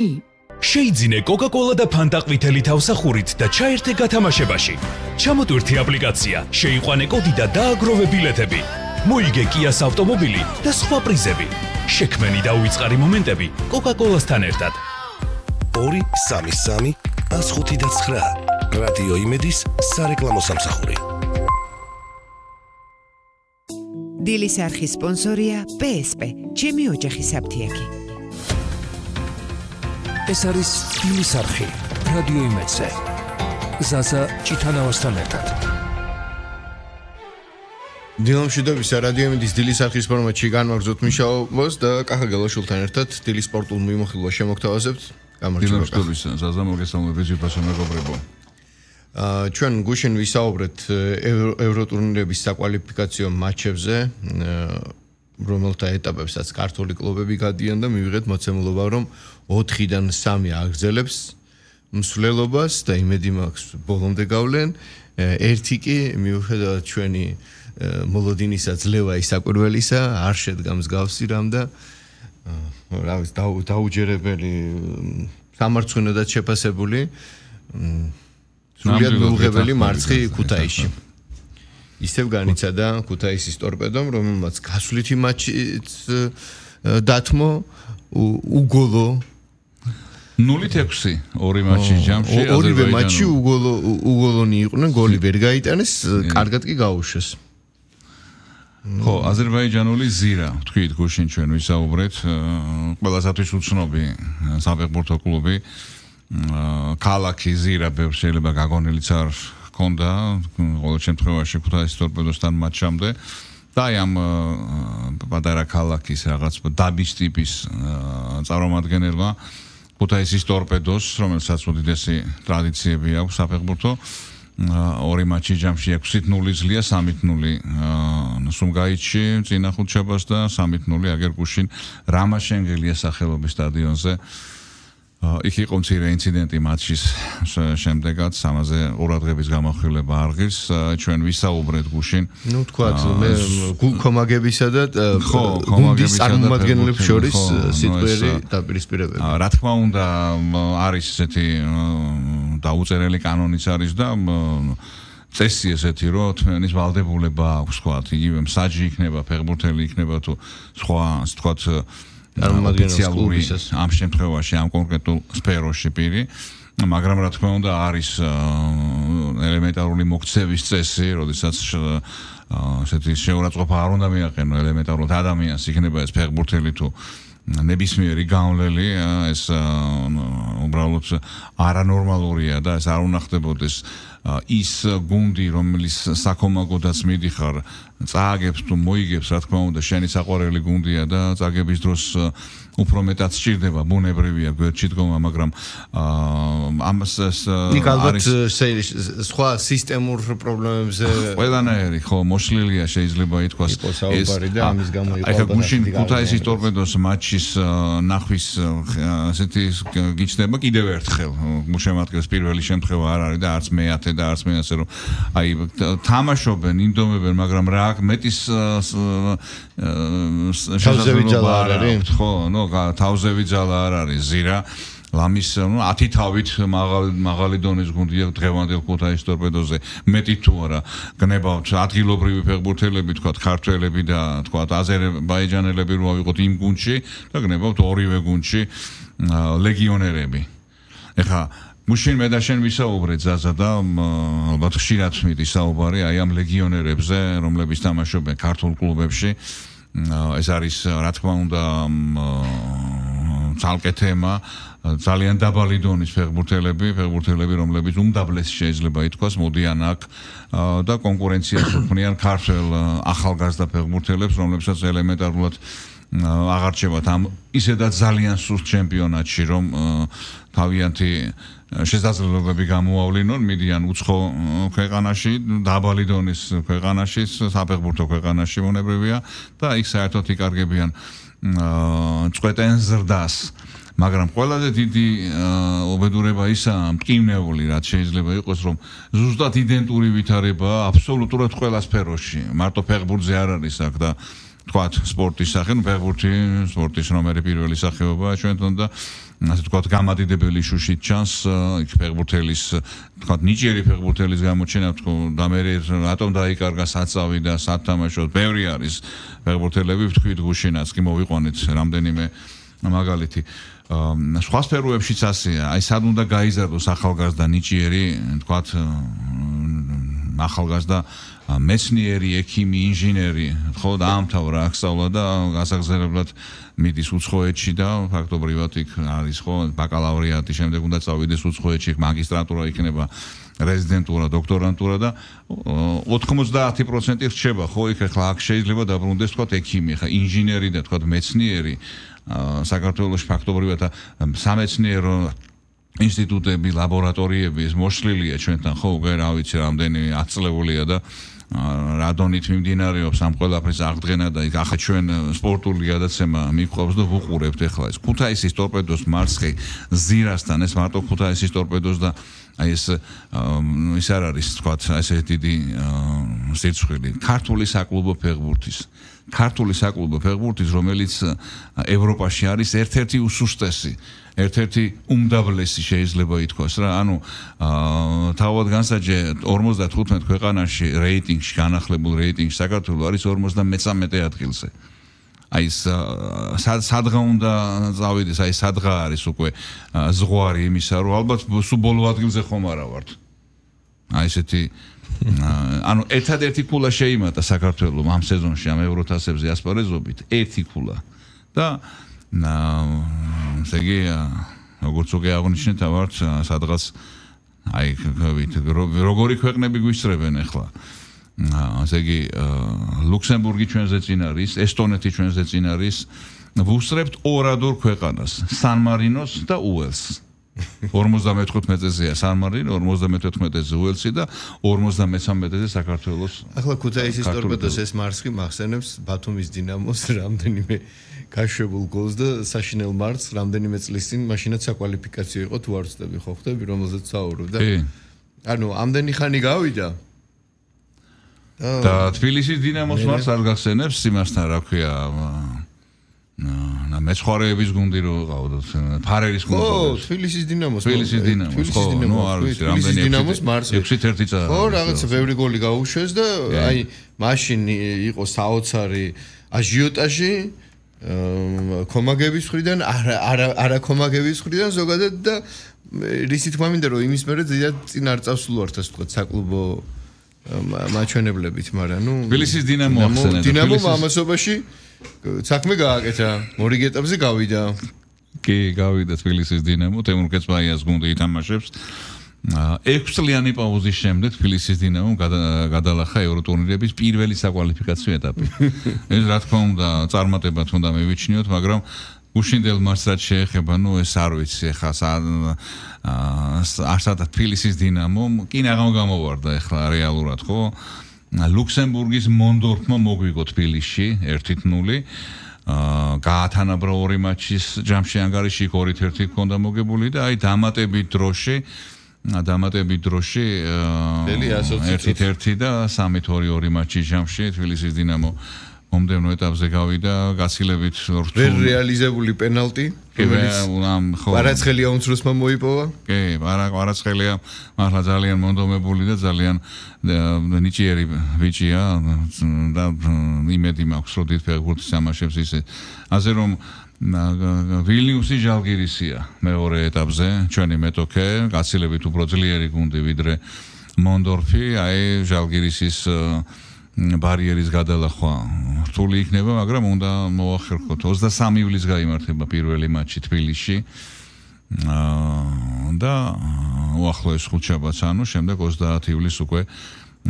შეიძინე Coca-Cola და Fanta ყვითელი თავსახურით და ჩაერთე გათამაშებაში. ჩამოტვირთი აპლიკაცია, შეიყვანე კოდი და დააგროვე ბილეთები. მოიგე Kia's ავტომობილი და სხვა პრიზები. შექმენი და უიწყარი მომენტები Coca-Cola-სთან ერთად. 233 159 რადიო იმედის სარეკლამო სამსახური. დილის არხის სპონსორია PSP, ჩემი ოჯახის საფთიაქი. ეს არის დილის არხი რადიო იმედზე. ზაზა ჭიტანავასთან ერთად. დილამშვიდობისა რადიო იმედის დილის არხის ფორმატში განვაგრძოთ მიშაობას და კახა გელაშვილთან ერთად დილის სპორტულ მიმოხილვას შემოგთავაზებთ. დილამშვიდობისა ზაზა მოგესალმებით ძვირფასო მეგობრებო. ჩვენ გუშინ ვისაუბრეთ ევროტურნირების საკვალიფიკაციო მატჩებზე, რომელთა ეტაპებსაც ქართული კლუბები გადიან და მივიღეთ მოცემულობა, რომ 4-დან 3 აგრძელებს მსვლელობას და იმედი მაქვს ბოლომდე გავლენ. ერთი კი მიუხედავად ჩვენი მოლოდინისა ძლევა ისაკვირველისა არ შედგა მსგავსი რამ და რა ვიცი დაუჯერებელი სამარცხვინოდაც შეფასებული სრულიად მიუღებელი მარცხი ქუთაისში. ისევ განიცადა ქუთაისის ტორპედომ, რომელმაც გასვლითი მატჩიც დათმო უგოლო 0-6 ორი მატჩი ჯამში ორივე მატჩი უგოლონი იყვნენ, გოლი ვერ გაიტანეს, კარგად კი გაუშვეს. ხო, აზერბაიჯანული ზირა, თქვით გუშინ ჩვენ ვისაუბრეთ, ყველასათვის უცნობი საფეხბურთო კლუბი, ქალაქი ზირა ბევრ შეიძლება გაგონილიც არ ჰქონდა, ყოველ შემთხვევაში ქუთაისის ტორპედოსთან მატჩამდე და ამ პატარა ქალაქის რაღაც დაბის ტიპის წარმომადგენელმა ქუთაისის ტორპედოს, რომელსაც უდიდესი ტრადიციები აქვს საფეხბურთო, ორი მატჩი ჯამში 6-0 ზლია, 3-0 სუმგაითში წინა ხუთშაბათს და 3-0 აგერგუშინ რამაშენგელიას სახელობის სტადიონზე. იქ იყო მცირე ინციდენტი მატჩის შემდეგაც, ამაზე ყურადღების გამახვილება არ ღირს. ჩვენ ვისაუბრეთ გუშინ. ნუ თქვათ, მე კომაგებისა და გუნდის წარმომადგენლებს შორის სიტყვიერი დაპირისპირებები. რა თქმა უნდა, არის ესეთი დაუწერელი კანონიც არის და წესი ესეთი, რომ თქვენის ვალდებულება აქვს, თქვათ, იგივე მსაჯი იქნება, ფეხბურთელი იქნება თუ სხვა, ასე თქვათ, ოფიციალური ამ შემთხვევაში ამ კონკრეტულ სფეროში პირი, მაგრამ რა თქმა უნდა არის ელემენტარული მოქცევის წესი, როდესაც ესეთი შეურაცხყოფა არ უნდა მიაყენო ელემენტარულად ადამიანს, იქნება ეს ფეხბურთელი თუ ნებისმიერი გავლელი, ეს უბრალოდ არანორმალურია და ეს არ უნდა ხდებოდეს. ის გუნდი, რომელიც საქომაგოდაც მიდიხარ, წააგებს თუ მოიგებს, რა თქმა უნდა, შენი საყვარელი გუნდია და წაგების დროს უფრო მეტად სჭირდება, ბუნებრივია გვერდში დგომა, მაგრამ ამას იქ ალბათ სხვა სისტემურ პრობლემებზე ყველანაირი ხო მოშლილია შეიძლება ითქვას ეს და ამის გამო იყო ალბათ გუშინ ქუთაისის ტორპედოს მატჩის ნახვის ასეთი გიჩნდება კიდევ ერთხელ შემადგენს პირველი შემთხვევა არ არის და არც მეათე და არც მეასე რომ აი თამაშობენ ინდომებენ მაგრამ რა მეტის თავზევიძალა არ არის ხო ნუ თავზევიძალა არ არის ზირა ლამის 10 თავით მაღალი დონის გუნდია დღევანდელ ქუთაისის ტორპედოზე მეტი თუ არა გნებავთ ადგილობრივი ფეხბურთელები თქვა ქართველები და თქვა აზერბაიჯანელები რო ავიღოთ იმ გუნდში და გნებავთ ორივე გუნდში ლეგიონერები ეხა მუშინ მე და შენ ვისაუბრეთ ზაზა და ალბათ ხშირად მიდის საუბარი აი ამ ლეგიონერებზე რომლებიც თამაშობენ ქართულ კლუბებში ეს არის რა თქმა უნდა ცალკე თემა ძალიან დაბალი დონის ფეხბურთელები რომლებიც უმდაბლეს შეიძლება ითქვას მოდიან აქ და კონკურენციას უქმნიან ქართულ ახალგაზრდა ფეხბურთელებს რომლებსაც ელემენტარულად აღარჩევათ ამ ისედაც ძალიან სუსტ ჩემპიონატში რომ თავიანთი შესაძლებლობები გამოავლინონ მიდიან უცხო ქვეყანაში დაბალი დონის ქვეყანაში საფეხბურთო ქვეყანაში მონებრივია და იქ საერთოდ იკარგებიან წვეტენ ზრდას მაგრამ ყველაზე დიდი უბედურება ისაა მტკივნეული რაც შეიძლება იყოს რომ ზუსტად იდენტური ვითარება აბსოლუტურად ყველა სფეროში მარტო ფეხბურთზე არ არის აქ და თქვათ სპორტის სახე, ფეხბურთი, სპორტის ნომერი პირველი სახეობაა ჩვენთან და ასე ვთქვათ, გამადიდებელი შუშით ჩანს იქ ფეხბურთელის, ვთქვათ, ნიჭიერი ფეხბურთელის გამოჩენა, და მე რატომ დაიკარგა საწავი და სათამაშო, ბევრი არის ფეხბურთელები, ვთქვით, გუშინაც კი მოვიყვანეთ რამდენიმე მაგალითი. სხვა სფეროებშიც ასეა, აი სად უნდა გაიზარდოს ახალგაზრდა ნიჭიერი, ვთქვათ, ახალგაზრდა მეცნიერი, ექიმი, ინჟინერი, ხო, დაამთავრა აქ სწავლა და გასაგრძელებლად მიდის უცხოეთში და ფაქტობრივად იქ არის ხო ბაკალავრიატი, შემდეგ უნდა წავიდეს უცხოეთში, მაგისტრატურა იქნება, რეზიდენტურა, დოქტორანტურა და 90% რჩება, ხო, იქ ახლა აქ შეიძლება დაბრუნდეს თქვა ექიმი, ხა ინჟინერი და თქვა მეცნიერი საქართველოში ფაქტობრივად სამეცნიერო ინსტიტუტები, ლაბორატორიები ეს მოშლილია ჩვენთან, ხო, უკვე რა ვიცი, რამდენი 10 წლებულია და რადონით მიმდინარეობს ამ ყველაფრის აღდგენა და იქ ახლა ჩვენ სპორტული გადაცემა მიყავს და ვუყურებთ ახლა ეს ქუთაისის ტორპედოს მარცხი ზირასთან ეს მარტო ქუთაისის ტორპედოს და აი ეს ის არ არის თქვა ესე დიდი სიცხილი ქართული საკლუბო ფეხბურთის რომელიც ევროპაში არის ერთ-ერთი უსუსტესი ერთ-ერთი უმდაბლესი შეიძლება ითქვას რა ანუ თავად განსაჯე 55 ქვეყანაში რეიტინგში განახლებულ რეიტინგში საქართველოს არის 53 ადგილზე აი სადღა უნდა წავიდეს აი სადღა არის უკვე ზღვარი იმისა რომ ალბათ სულ ბოლო ადგილზე ხომ არა ვართ აი ესეთი ანუ ერთადერთი ქულა შეიმატა საქართველოს ამ სეზონში ამ ევროთასებზე ასპარეზობით ერთი ქულა და ზეგი როგორც უკვე აღნიშნეთ ავართ სადღაც აი როგორი ქვეყნები გვისწრებენ ახლა ზეგი ლუქსემბურგი ჩვენზე წინ არის ესტონეთი ჩვენზე წინ არის ვუსწრებთ ორ ქვეყანას სან-მარინოს და უელსს 55-ზეა სან-მარინო 54-ზე უელსი და 53-ზე საქართველოს ახლა ქუთაისის ტორპედოს ეს მარცხი მახსენებს ბათუმის დინამოს რამდენიმე გაშვებულ გოლს და საშინელ მარცხს რამდენიმე წლის წინ მაშინაც საკვალიფიკაციო იყო თუ არ ვცდები ხო ხდები რომელზეც საუბრობ და ანუ ამდენი ხანი გავიდა და თბილისის დინამოს მარცხს არ გახსენებს იმასთან რა ქვია მეცხვარეების გუნდი რო ყავდათ ფარერის გუნდი ხო თბილისის დინამოს ხო ნუ არ ვიცი რამდენი დინამოს მარცხი 6-1 წაა ხო რაღაცა ბევრი გოლი გაუშვეს და აი მაშინ იყო საოცარი აჟიოტაჟი კომაგების მხრიდან არა კომაგების მხრიდან ზოგადად და რისი თქმა მინდა რომ იმის მერე ზედაც წინ არ წავსულვართ ასე ვთქვათ საკლუბო მაჩვენებლებით მაგრამ ნუ თბილისის დინამო ახსენეთ დინამომ ამასობაში საქმე გააკეთა მორიგ ეტაპზე გავიდა კი გავიდა თბილისის დინამო თემურ კეცბაიას გუნდი ითამაშებს 6 წლიანი პაუზის შემდეგ თბილისის დინამომ გადალახა ევროტურნირების პირველი საკვალიფიკაციო ეტაპი ეს რა თქმა უნდა წარმატებად უნდა მივიჩნიოთ მაგრამ უშინდელ მარცხს რაც შეეხება ნუ ეს არ ვიცი ეხლა არსადა თბილისის დინამომ კი ნაღამ გამოვარდა ეხლა რეალურად ხო ლუქსემბურგის მონდორფმა მოგვიგო თბილისში 1-0 გაათანაბრა ორი მაჩის ჯამში ანგარიში 2-1 ჰქონდა მოგებული და აი დამატებით დროში 1-1 და 3-2 მაჩის ჯამში თბილისის დინამო მომდევნო ეტაპზე გავიდა გაცილებით ვერ რეალიზებული პენალტი ვარაცხელია უმცროსმა მოიპოვა კი ვარაცხელია მართლა ძალიან მონდომებული და ძალიან ნიჭიერი ბიჭია და იმედი მაქვს რომ დიდ ფეხბურთს თამაშებს ისე ასე რომ ვილნიუსი ჟალგირისია მეორე ეტაპზე ჩვენი მეტოქე გაცილებით უფრო ძლიერი გუნდი ვიდრე მონდორფი აი ჟალგირისის ბარიერის გადალახვა რთული იქნება, მაგრამ უნდა მოახერხოთ. 23 ივლისს გაიმართება პირველი მატჩი თბილისში. და უახლოეს ხუთშაბათს, ანუ შემდეგ 30 ივლისს უკვე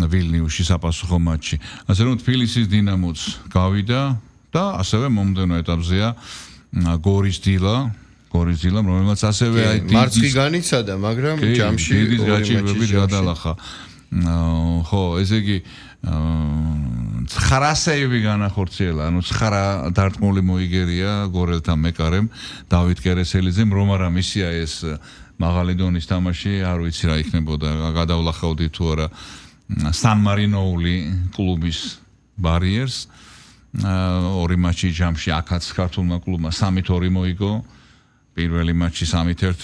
ვილნიუსში საპასუხო მატჩი. ასე რომ თბილისის დინამოც გავიდა და ასევე მომდევნო ეტაპზეა გორის დილა, რომელმაც ასევე აი მარცხი განიცადა, მაგრამ ჯამში დიდი გაჭირვები გადალახა. ხო, ესე იგი 9 სეივი განახორციელა, ანუ 9 დარტყმული მოიგერია გორელთან მეკარემ დავით კერესელიძემ, რომ არა მისია ეს მაღალი დონის თამაში, არ ვიცი რა იქნებოდა, გადავლახავდი თუ არა სან-მარინოული კლუბის ბარიერს. ორი მატჩი ჯამში აქაც ქართულმა კლუბმა 3-2 მოიგო. პირველი მატჩი 3-1